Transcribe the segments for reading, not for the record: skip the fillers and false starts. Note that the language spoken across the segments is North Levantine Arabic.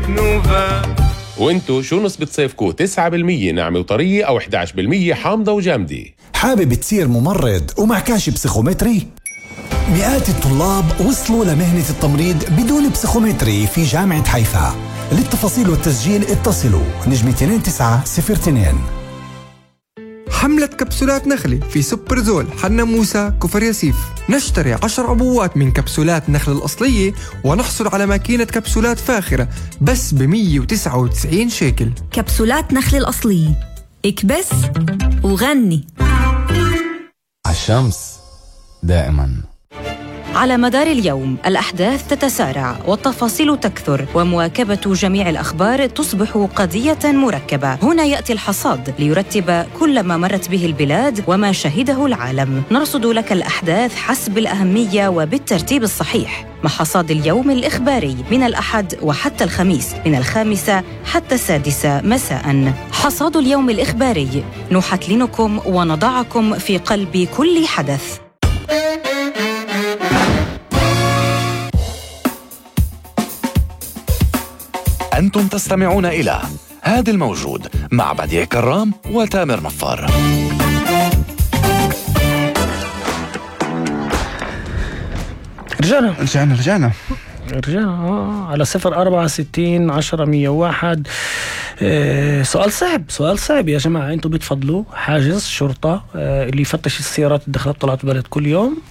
نوفا. وانتو شو نسبة صيفكو؟ 9% ناعمة وطرية أو 11% حامضة وجامدة؟ حابب تصير ممرض ومعكاش بسيخومتري؟ مئات الطلاب وصلوا لمهنة التمريض بدون بسيخومتري في جامعة حيفا. للتفاصيل والتسجيل اتصلوا نجمة 2902. حملة كبسولات نخلة في سوبرزول حنا موسى كفر ياسيف. نشتري 10 عبوات من كبسولات نخلة الأصلية ونحصل على ماكينة كبسولات فاخرة بس ب199 شيكل. كبسولات نخلة الأصلية، اكبس وغني. عالشمس دائما. على مدار اليوم الأحداث تتسارع والتفاصيل تكثر ومواكبة جميع الأخبار تصبح قضية مركبة. هنا يأتي الحصاد ليرتب كل ما مرت به البلاد وما شهده العالم. نرصد لك الأحداث حسب الأهمية وبالترتيب الصحيح مع حصاد اليوم الإخباري من الأحد وحتى الخميس من 5 حتى 6 مساء. حصاد اليوم الإخباري نحتلنكم ونضعكم في قلب كل حدث. أنتم تستمعون إلى هذا الموجود مع بديع كرام وتامر نفار. رجعنا على 064 10 101. سؤال صعب يا جماعة. انتوا بتفضلوا حاجز شرطة اللي يفتش السيارات الدخلات طلعت البلد كل يوم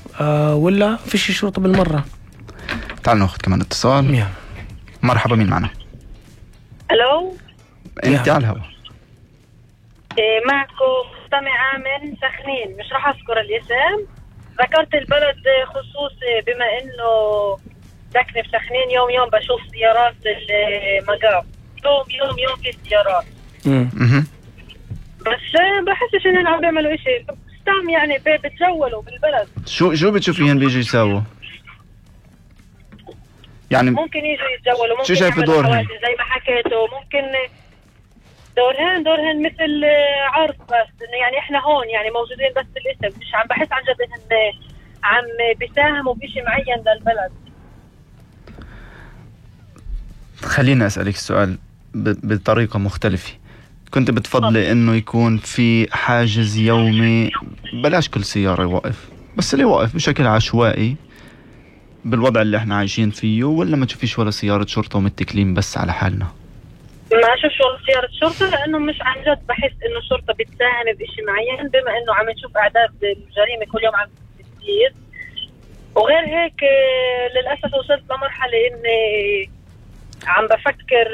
ولا فيش شرطة بالمرة؟ تعالوا ناخذ كمان اتصال. مرحبا، مين معنا؟ الو، انت على الهوا. معكم مستمعة من سخنين، مش راح اذكر الاسم. ذكرت البلد خصوصي بما انه ساكنة في سخنين. يوم بشوف سيارات المقام، يوم في سيارات. بس بحسش انهم عم بيعملوا اشي. استام يعني بتجولوا بالبلد. شو بتشوفيهن بيجوا يساووا؟ يعني ممكن يجوا يتجولوا، ممكن شو شايف دورهن؟ زي ما حكيتوا. ممكن دورهن مثل عرض، بس انه يعني احنا هون يعني موجودين بس بالاسم، مش عم بحس عن جد انهم عم بيساهموا بشيء معين للبلد. خليني اسألك السؤال بطريقة مختلفة. كنت بتفضلي انه يكون في حاجز يومي، بلاش كل سيارة يوقف، بس اللي يوقف بشكل عشوائي بالوضع اللي احنا عايشين فيه، ولا ما تشوفيش ولا سيارة شرطة ومتكلين بس على حالنا؟ ما اشوفش ولا سيارة شرطة، لانه مش عن جد بحس انه الشرطة بتساهم بشيء معين، بما انه عم نشوف اعداد الجريمة كل يوم عم تزيد. وغير هيك للأسف وصلت لمرحلة اني عم بفكر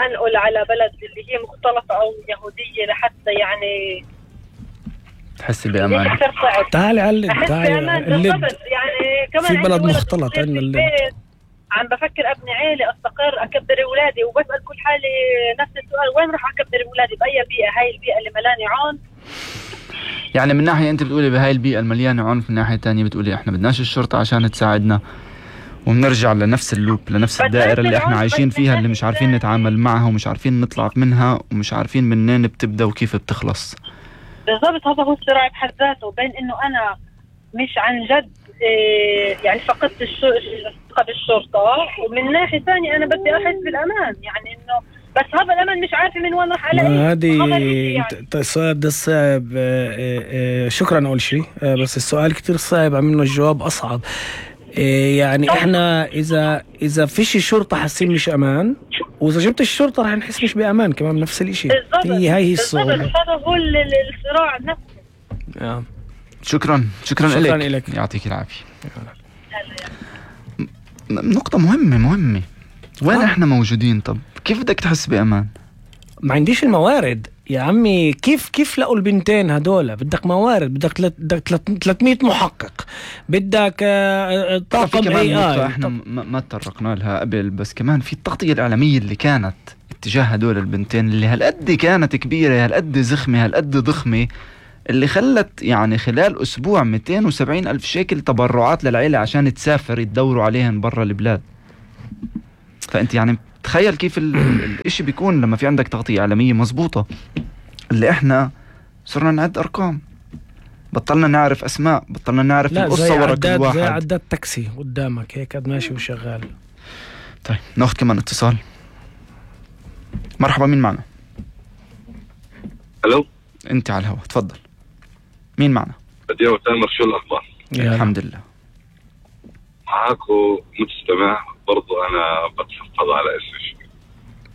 انقل على بلد اللي هي مختلطة او يهودية لحتى يعني تحسي بأمان. تعالي علق بالضبط. يعني كمان في بلد مختلط عندنا الليل. عم بفكر ابني عيلة، استقر، اكبر اولادي، وبسأل كل حالي نفس السؤال، وين راح اكبر اولادي؟ باي بيئة؟ هاي البيئة اللي ملاني عون. يعني من ناحية انت بتقولي بهاي البيئة المليانة عنف، من ناحية تانية بتقولي احنا بدناش الشرطة عشان تساعدنا، وبنرجع لنفس اللوب، لنفس الدائرة اللي احنا عايشين فيها، اللي مش عارفين نتعامل معها ومش عارفين نطلع منها ومش عارفين منين بتبدأ وكيف بتخلص. بالضبط، هذا هو الصراع بحد ذاته، بين انه انا مش عن جد يعني فقدت الثقة بالشرطة، ومن ناحية ثانية انا بدي احس بالامان، يعني انه بس هذا الأمل مش عارفة من وين راح ألاقيه. هذه السؤال ده صعب. شكرا أول شيء، بس السؤال كتير صعب، عم منه الجواب أصعب. يعني إحنا إذا فيش الشرطة حاسين مش أمان، وإذا جبت الشرطة راح نحس مش بأمان كمان، نفس الإشي. هي الصعوبة. هذا هو الصراع نفسه. شكرا لك، يعطيك العافية. نقطة مهمة. وين احنا موجودين؟ طب كيف بدك تحس بأمان؟ ما عنديش الموارد يا عمي. كيف لقوا البنتين هدول؟ بدك موارد، بدك 300 محقق، بدك طاقم AI. احنا ما تطرقنا لها قبل، بس كمان في التغطية الإعلامية اللي كانت اتجاه هدول البنتين اللي هالقد كانت كبيرة، هالقد زخمة، هالقد ضخمة، اللي خلت يعني خلال أسبوع 270,000 شيكل تبرعات للعيلة عشان تسافر يدوروا عليهن برا البلاد. فأنت يعني تخيل كيف الاشي بيكون لما في عندك تغطية إعلامية مزبوطة. اللي احنا صرنا نعد أرقام، بطلنا نعرف أسماء، بطلنا نعرف القصة ورا كل واحد. زي عداد تاكسي قدامك هيك ماشي وشغال. طيب ناخذ كمان اتصال. مرحبا، مين معنا؟ الو، انت على الهواء، تفضل. مين معنا؟ بديع وتامر، شو الاخبار؟ الحمد لله. معاكو مستمع، برضو انا بتحفظ على اسمي.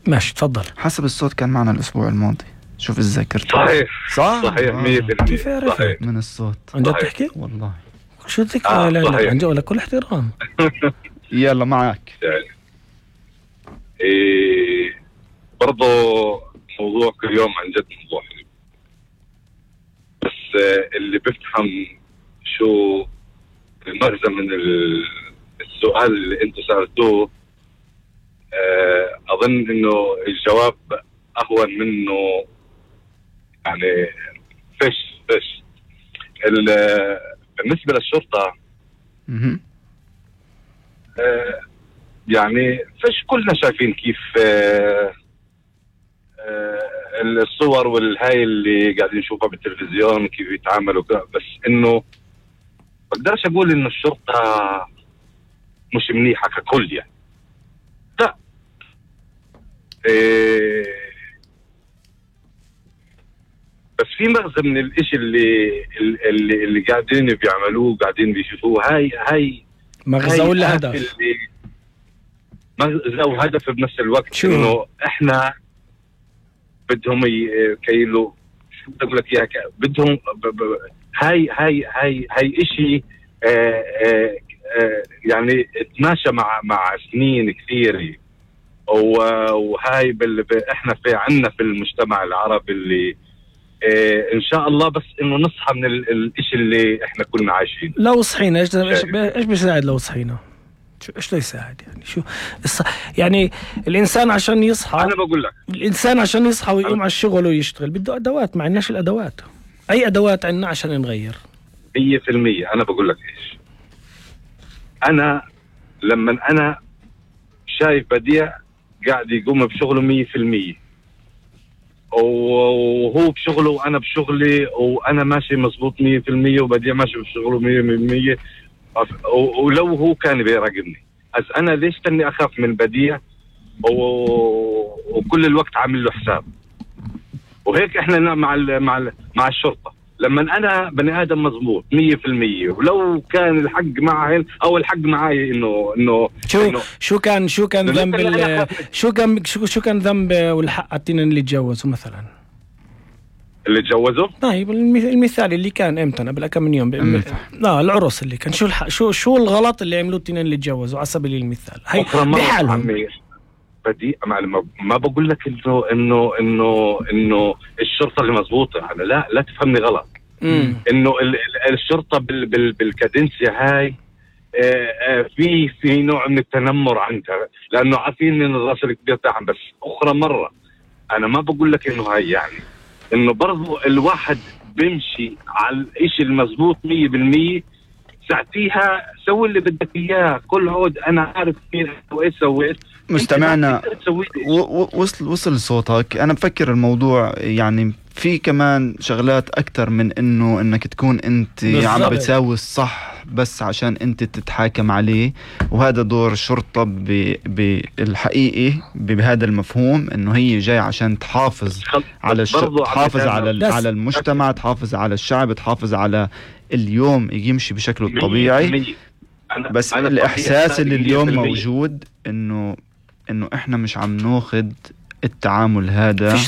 ماشي تفضل. حسب الصوت كان معنا الاسبوع الماضي، شوف الذاكرة. صحيح صحيح 100%. كيف عرفت؟ صحيح من الصوت. عن جد تحكي؟ والله شو ذكرى؟ لا صحيح. عن جد ولا كل احترام. يلا معك. يعني برضو موضوع كل يوم عن جد موضوع حلو، بس اللي بفهم شو المغزى من السؤال اللي انتم سألتوه، اظن انه الجواب اهون منه، يعني فش بالنسبة للشرطة يعني فش كلنا شايفين كيف الصور والهاي اللي قاعدين نشوفها بالتلفزيون كيف يتعاملوا، بس انه بقدرش اقول انه الشرطة مش منيحة ككل يعني، لا. بس في مغزى من الاشي اللي قاعدين بيعملوه، قاعدين بيشوفوه. هاي مغزى ولا هدف؟ مغزى وهدف بنفس الوقت. انه احنا بدهم كيلو، شو بدي اقول لك اياها، بدهم هاي اشي يعني تماشى مع سنين كثيرة، وهاي احنا عنا في المجتمع العربي اللي ان شاء الله بس انه نصحى من الاشي اللي احنا كنا عايشين. لو صحينا ايش بيساعد؟ لو صحينا ايش لا يساعد يعني؟ شو يعني الانسان عشان يصحى، انا بقول لك الانسان عشان يصحى ويقوم على الشغل ويشتغل بده ادوات، ما عندناش الادوات. اي ادوات عندنا عشان نغير؟ 100%. انا بقول لك ايش، انا لما انا شايف بديع قاعد يقوم بشغله 100%، وهو بشغله وانا بشغلي، وانا ماشي مزبوط 100%، وبديع ماشي بشغله 100%، ولو هو كان بيراقبني، انا ليش تاني اخاف من بديع وكل الوقت عامل له حساب؟ وهيك احنا مع الشرطة، لما انا بني ادم مزبوط 100%، ولو كان الحق معهن او الحق معي انه شو كان ذنب شو كان ذنب والحق التنين اللي تجوزوا مثلا؟ اللي تجوزوا؟ طيب المثال اللي كان امتى قبل كم من يوم لا العرس اللي كان، شو الغلط اللي عملوه التنين اللي تجوزوا على سبيل المثال؟ هي بحالهم. بدي ما بقول لك انه الشرطه اللي مزبوطه، انا لا تفهمني غلط. انه الشرطه بالكادنسيا هاي في نوع من التنمر عندها، لانه عارفين ان الراس الكبير تاعهم. بس اخرى مره انا ما بقول لك انه هاي يعني انه برضو الواحد بيمشي على الاشي المزبوط 100%، ساعتيها سوي اللي بدك اياه، كل عود انا عارف مين وايش سويت. مستمعنا وصل صوتك. انا بفكر الموضوع يعني في كمان شغلات اكتر من انك تكون انت عم بتساوي الصح بس عشان انت تتحاكم عليه، وهذا دور الشرطة بالحقيقي بهذا المفهوم، انه هي جاي عشان تحافظ على تحافظ على المجتمع، تحافظ على الشعب، تحافظ على اليوم يمشي بشكله الطبيعي. بس الإحساس اللي اليوم موجود إنه إحنا مش عم ناخد التعامل هذا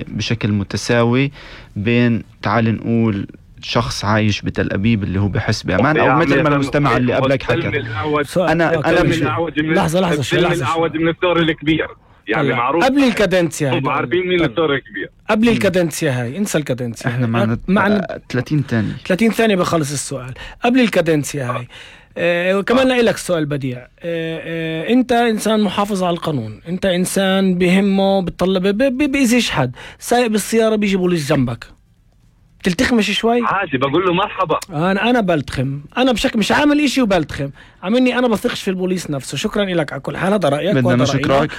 بشكل متساوي بين، تعال نقول، شخص عايش بتل أبيب اللي هو بحس بأمان، أو مثل ما المستمع اللي قبلك حكى. أنا مش لحظة الأعود من الثور الكبير يعني معروف قبل الكادنسيا هاي، هم عارفين مين الثور الكبير قبل الكادنسيا هاي. انسى الكادنسيا، احنا معنا 30 ثانية بخلص السؤال. قبل الكادنسيا هاي كمان لك سؤال بديع. انت انسان محافظ على القانون، انت انسان بهمه بتطلب بيأذيش حد، سايق بالسيارة بيجي بوليس جنبك، تلتخمش شوي؟ عادي بقول له مرحبا. انا بلتخم، انا بشكل مش عامل اشي وبلتخم، عاملني انا بثقش في البوليس نفسه. شكرا لك على كل حال، هذا رأيك. بدنا نشكرك.